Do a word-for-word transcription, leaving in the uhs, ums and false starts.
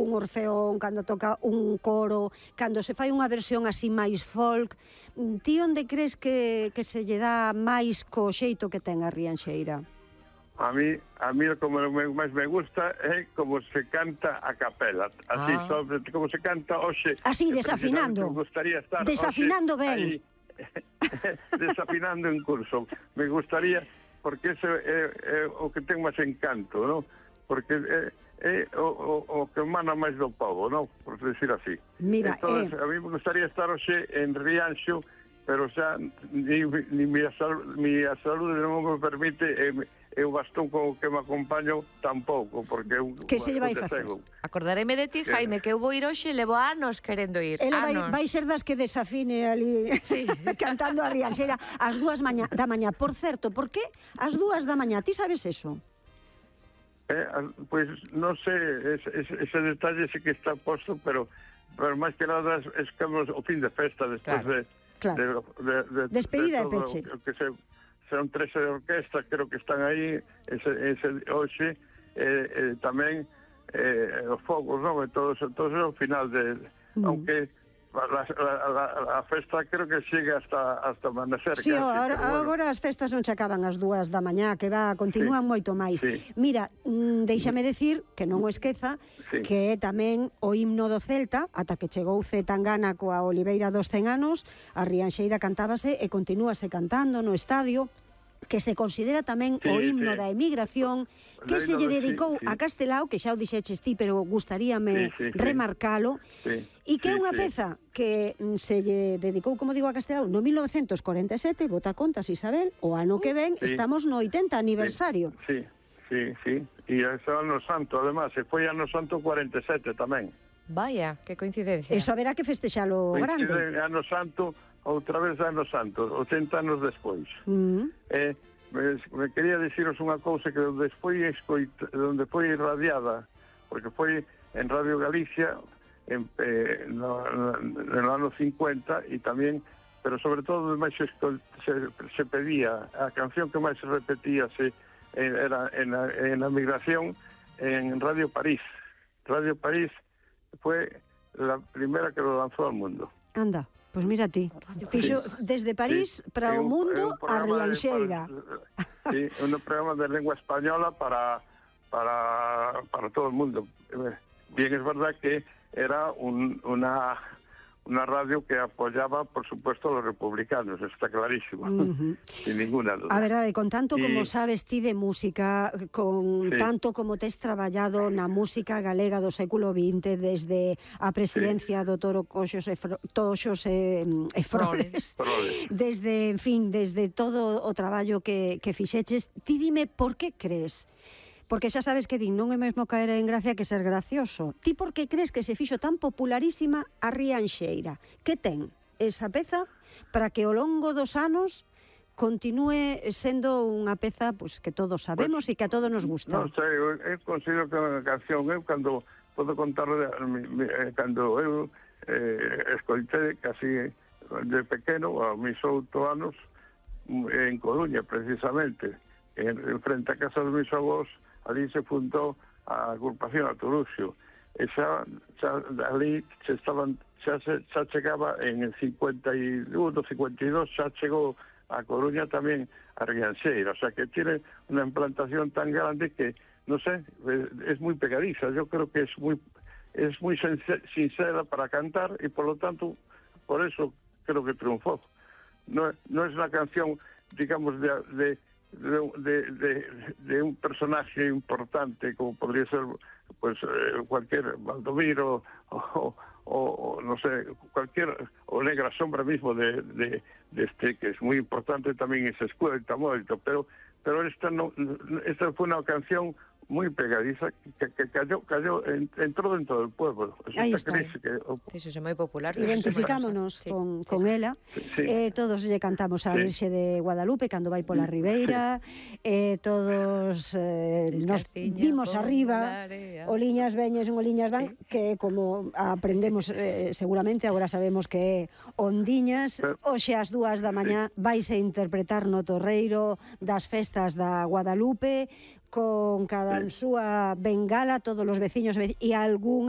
un orfeón, cando toca un coro, cando se fai unha versión así máis folk. Ti onde crees que, que se lle dá máis co xeito que ten a Rianxeira? A mí, a mí como máis me gusta é como se canta a capela, así, ah. sobre, como se canta hoxe. Así, desafinando. Me gustaría estar desafinando ben. Ahí, desafinando en curso. Me gustaría, porque ese é, é o que ten máis encanto, ¿no? Porque é, é o, o, o que emana máis do povo, ¿no? Por decir así. Mira, Entonces, eh... a mí me gustaría estar hoxe en Rianxo, pero xa ni, ni mi, sal, mi saúde non me permite, e eh, o bastón co que me acompaño tampouco, porque eu que se lle vai facer? Acordareime de ti, Jaime, que eu vou ir hoxe, levo anos querendo ir. Ela vai, anos. vai ser das que desafine ali, sí. cantando a Rianxeira ás dúas maña, da mañá. Por certo, por que ás dúas da mañá? Ti sabes eso? Eh, pois pues, non sei, ese, ese, ese detalle sí que está posto, pero, pero máis que nada es como o fin de festa, despois claro. de, claro. de, de, de... Despedida de de peche. Que se... Son tres de orquesta, creo que están aí ese, ese hoxe, eh, eh, tamén eh, os fogos, non? E todo, todo eso ao final de... Mm. Aunque a, a, a, a festa creo que chega hasta, hasta amanecer. Sí, casi, agora, bueno. agora as festas non se acaban ás dúas da mañá, que va, continúan sí, moito máis. Sí. Mira, mm, déixame decir, que non o esqueza, sí. que é tamén o himno do Celta, ata que chegou C. Tangana coa Oliveira dos cen anos, a Rianxeira cantábase e continúase cantando no estadio, que se considera tamén sí, o himno sí. da emigración, que se lle dedicou sí, sí. a Castelao, que xa o dixeches ti, pero gustaríame sí, sí, remarcalo, sí. e que é sí, unha sí. peza que se lle dedicou, como digo, a Castelao no mil novecentos corenta e sete, bota contas Isabel, o ano que ven sí. estamos no oitenta aniversario. Sí, sí, sí, e ese ano santo, además, se foi ano santo corenta e sete tamén. Vaya, que coincidencia. Eso haberá que festexalo grande. Coincide ano santo, outra vez ano santo, oitenta anos despois. Uh -huh. Eh, me, me quería diciros unha cousa que onde foi, escoita, onde foi irradiada, porque foi en Radio Galicia en, eh, no, no, no ano cincuenta e tamén, pero sobre todo máis se, se, se pedía, a canción que máis se repetía se, era en a, en a migración en Radio París. Radio París foi la primera que lo lanzou al mundo. Anda. Pois pues mira ti, fixo desde París sí, para o mundo a Rianxeira. Sí, un programa de lengua española para, para, para todo el mundo. Bien, es verdad que era un, una, una radio que apoyaba, por supuesto, a los republicanos, está clarísimo, uh -huh. sin ninguna duda. A verdade, con tanto y... como sabes ti de música, con sí. tanto como tes traballado na música galega do século vinte, desde a presidencia sí. do Toro Coxos e Fro... Toxos e, e Froles, desde, en fin, desde todo o traballo que, que fixeches, ti dime por que crees? Porque xa sabes que din, non é mesmo caer en gracia que ser gracioso. Ti por que crees que se fixo tan popularísima a Rianxeira? Que ten esa peza para que ao longo dos anos continúe sendo unha peza pues, que todos sabemos pues, e que a todos nos gusta? Non sei, eu, eu considero que é unha canción, eu cando podo contar, cando eu eh, escoitei casi de pequeno, a mis oito anos, en Coruña, precisamente, en, en frente a casa dos mis avós, ali se fundou a agrupación Aturuxio. E xa, xa ali se estaban, xa, se, xa chegaba en el cincuenta y uno, cincuenta y dos, xa chegou a Coruña tamén a Rianxeira. O sea que tiene una implantación tan grande que, no sé, es, es muy pegadiza. Yo creo que es muy, es muy sincera para cantar y por lo tanto, por eso creo que triunfó. No, no es una canción, digamos, de... de De, de, de, de un personaje importante como podría ser pues eh, cualquier Valdomiro o, o, o no sé, cualquier o Negra Sombra mismo de, de, de este que es muy importante también y se escucha mucho, pero pero esta no esta fue una canción muy pegadiza que, que cayó, cayó en, entró dentro del pueblo. Ahí está. Que, oh, eso es muy popular. Identificámonos sí, con, con sí, ela. Sí. Eh, todos lle cantamos a sí. Virxe de Guadalupe cando vai pola Ribeira. Sí. Eh, todos eh, nos vimos arriba. Oliñas veñes, oliñas dan, sí. que como aprendemos eh, seguramente, agora sabemos que é Ondiñas. Hoxe ás dúas da mañá sí. vais a interpretar no Torreiro das festas da Guadalupe, con cada sí. súa bengala, todos os veciños e algunha